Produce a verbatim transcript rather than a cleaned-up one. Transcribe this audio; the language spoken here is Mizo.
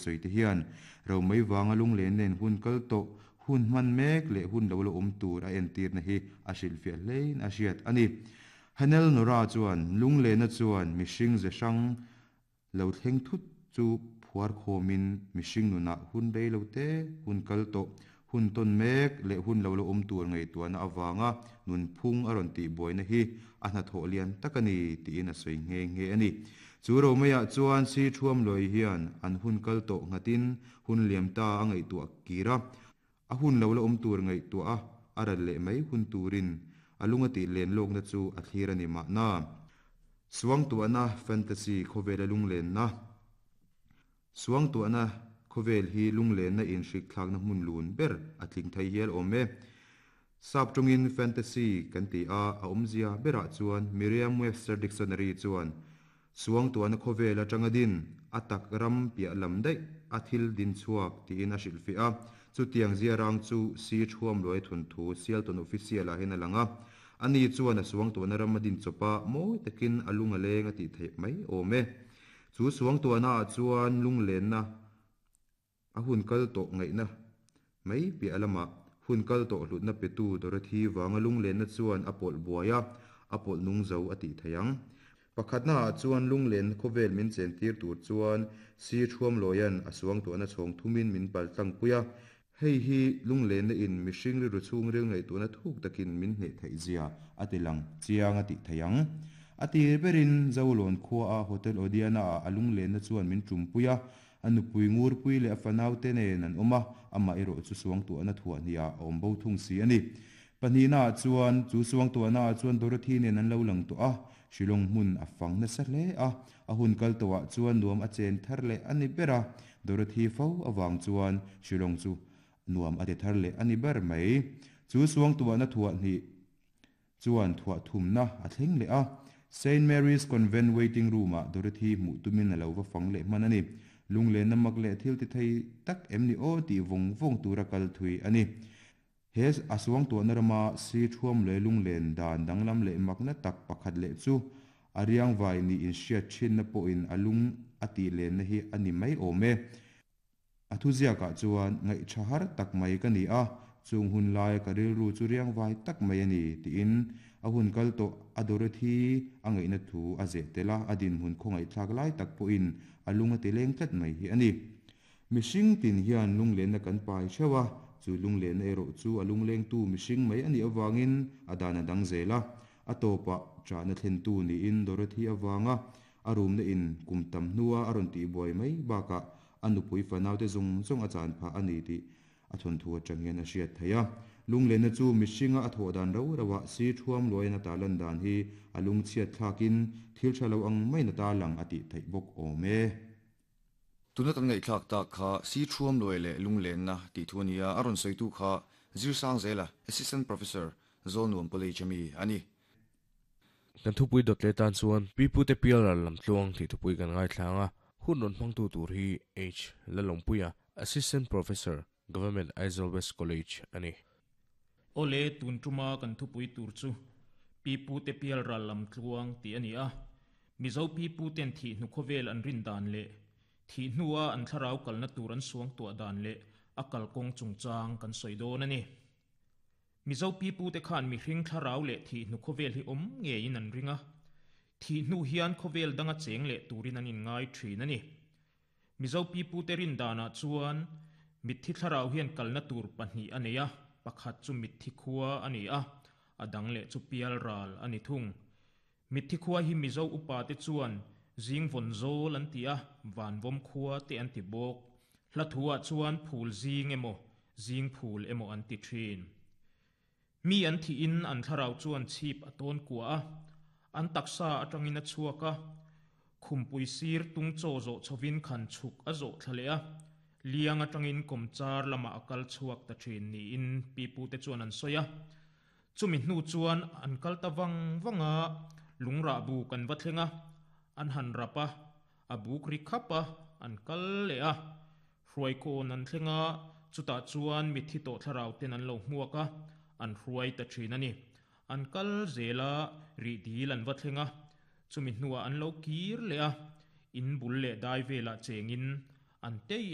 sawi te hian romei wanga lunglen nen hun kal tawh hun hman mek leh hun lo la awm tur a entirna hi a hrilhfiah hlein a hriat a ni. Hanel Nora chuan lunglena chuan mihring ze hrang lo thleng thut chu phuar khawmin mihring nunah hun rei lo te hun kal tawh hun tawn mek leh hun lo la awm tur ngaihtuahna awanga nun phung a rawn tih buaina hi a hnathawh lian tak a ni tiin a sawi nghe nghe a ni. Chu romeiah chuan si thuam loi hian an hun kal tawh nghatin hun liam ta a ngaihtuah kira a hun lo la awm tur ngaihtuah a a ral leh mai hun turin a lunga tih len lawkna chu a thlir a ni mahna. Suang tuahna fantasy khawvel a lunglen na. Suang tuahna khawvel hi lunglen na in hrik thlakna hmun lun ber a tling thei hial awm e. Sap tawngin fantasy kan ti a a awmzia berah chuan Merriam-Webster Dictionary chuan suang tuahna khawvel atanga din a tak ram piah lam daih a thil din chhuak tiin a hrilhfiah a. Chutiang zia rang chu si thuam loi thun thu Sialton official ah hian a lang a. Ani chuan a suang tuahna ram a din chawpa mawi takin a lung a leng a tih theih mai awm e. Chu suang tuahna ah chuan lunglenna a hun kal tawh ngaihna mai piah lamah hun kal tawh hlutna petu Dorothy wanga lunglenna chuan a pawlh buai a, a pawlh nung zo a tih theih ang. Pakhatna ah chuan lunglen khawvel min chen tir tur chuan si thuam loian a suang tuahna chhawng thumin min pal tlang pui a. Hei hi lunglenna in mihring rilru chhung ril ngaihtuahna thuk takin min hneh theih zia a ti lang chiang a tih theih ang. A tir berin Zolawn khua a Hotel Odiana ah a lunglenna chuan min tum pui a, a nupui ngur pui leh a fanau te nen an awm a, amah erawh chu suang tuahna thuah hnih ah a awm bo thung si a ni. Pahnihna ah chuan chu suang tuahna ah chuan Dorothy nen an lo lang tawh a, Shillong hmun a fang nasa hle a, a hun kal tawh ah chuan nuam a chen thar leh a ni ber a. Dorothy fo awang chuan Shillong chu nuam a ti thar leh a ni ber mai. Chu suang tuahna thuah hnih chuan thuah thumna a thleng leh a. Saint Mary's Convent waiting room ah Dorothy hmuh tumin a lo va fang leh hman a ni. Lunglen na mak leh thil ti thei tak em ni aw tih vawng vawng tura kal thui a ni. He a suang tuahna rama si thuam leh lunglen dan danglam leh makna tak pakhat leh chu a riang vai ni in hriat thinna pawhin a lung a tih lenna hi a ni mai awm e. A thu ziakah chuan ngaih tha har tak mai ka ni a, chung hun lai ka rilru chu riang vai tak mai a ni tiin a hun kal tawh a Dorothy a ngaihna thu a zeh tel a, a din hmun khawngaih thlak lai tak pawhin a lung a ti leng tlat mai hi a ni. Mihring tin hian lunglenna kan pai theuh a, chu lunglenna erawh chu a lunglengtu mihring mai a nih awangin a dan a dang zel a. A tawpah chahna thlentu niin Dorothy awanga a rumna in kum tam hnua a rawn tih buai mai bakah a nupui fanau te zawng zawng a chan phah a ni tih a thawn thu atang hian a hriat theih a. Lunglenna chu mihringa a thawh dan ro roah si thuam luain a tarlan dan hi a lungchhiat thlakin thil tha lo ang mai na tarlang a tih theih bawk awm e. Tuna kan ngaihthlak tak kha si thuam luai leh lunglenna tih thu ania a rawn sawitu kha Zirsang Zela, Assistant Professor, Zawlnuam College ami a ni. Kan thupui dawt leh tan chuan Pipute Pial ral lam tluang tih thupui kan ngaithlang a, hun rawn hmangtu tur hi H Lalawmpuia, Assistant Professor, Government Aizawl West College a ni. Awle tun tuma kan thupui tur chu Pipute Pial ral lam tluang tih a ni a. Mizo Piputen thih hnu khawvel an rin dan leh thih hnua an thlarau kalna tur an suang tuah dan leh a kalkawng chungchang kan sawi dawn a ni. Mizo Pipute khan mihring thlarau leh thih hnu khawvel hi awm ngeiin an ring a. Thih hnu hian khawvel danga cheng leh turin an inngai thin a ni. Mizo Pipute rin danah chuan mitthi thlarau hian kalna tur pahnih a nei a, pakhat chu mitthi khua a ni a, a dang leh chu pial ral a ni thung. Mitthi khua hi Mizo upa te chuan zing vawn zawl an ti a, van vawm khua te an ti bawk. Hla thuah chuan phul zing emaw, zing phul emaw an ti thin. Mi an thiin an thlarau chuan chhip a tawn kua a, an taksa atangin a chhuak a, khumpui sir tung chaw zawh chhovin khan chhuk a zawh thla leh a, liang atangin kawmchar lamah a kal chhuak ta thin niin Pipute chuan an sawi a. Chumi hnu chuan an kal ta vang vang a, lungrah buk an va thleng a, an han rap a, a buk ri khap a, an kal leh a. Hruaikawn an thleng a, chutah chuan mitthi tawh thlarau ten an lo hmuak a, an hruai ta thin a ni. An kal zel a, rih dil an va thleng a, chumi hnuah an lo kir leh a, in bul leh dai velah chengin an tei